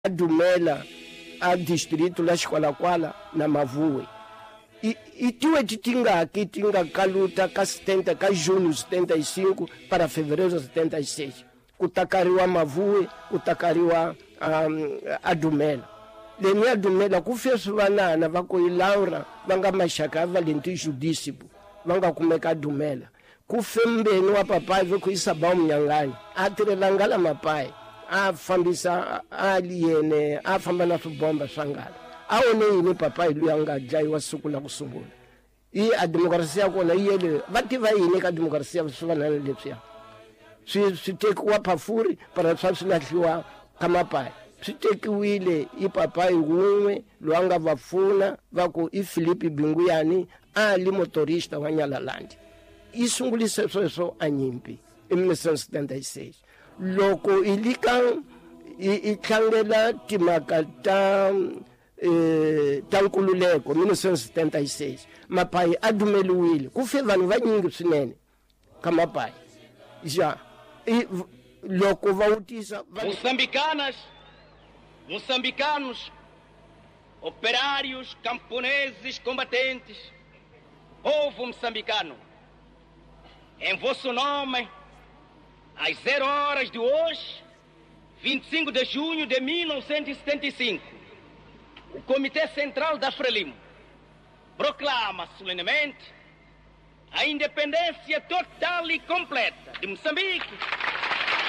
Dumela a distrito la Xikwalakwala na Mavuwe i tiweti tingaki ti nga kaluta ka 70 ka junho 75 para fevereiro 76 ku takariwa Mavuwe, ku takariwa a Dumela. Leni ya Dumela ku fe swivanana va ku i Laura va nga maxaka ya Valentin Judicibo va nga kumeka Dumela. Ku fe mbeni wa papayi va ku i Sabao Munyangani a tirhela ngala mapayi a fambisa a yene a famba na swibomba swa ngala. A one yini papayi luya nga dlayiwa siku la ku sungula. I a demokrasi ya kona yi yele va tiva yini ka demokrasi ya swivanana leswiya. Swi tekiwa phafuri para swa swi lahliwa ka mapayi. Swi tekiwile i papayi wun'we loyi a nga va pfuna va ku i Filipi Binguyani a li motorista wa Nyalalandi. Yi sungulise sweswo a nyimpi i 1976. Loko i lika i tlangela timhaka ta nkululeko 1976 mapayi a dumeliwile ku fe vanhu vanyingi swinene ka mapayi. Ja loko va vutisa Moçambicanas, moçambicanos, operários, camponeses, combatentes, povo moçambicano, em vosso nome, às 0 horas de hoje, 25 de junho de 1975, o Comitê Central da Frelimo proclama solenemente a independência total e completa de Moçambique.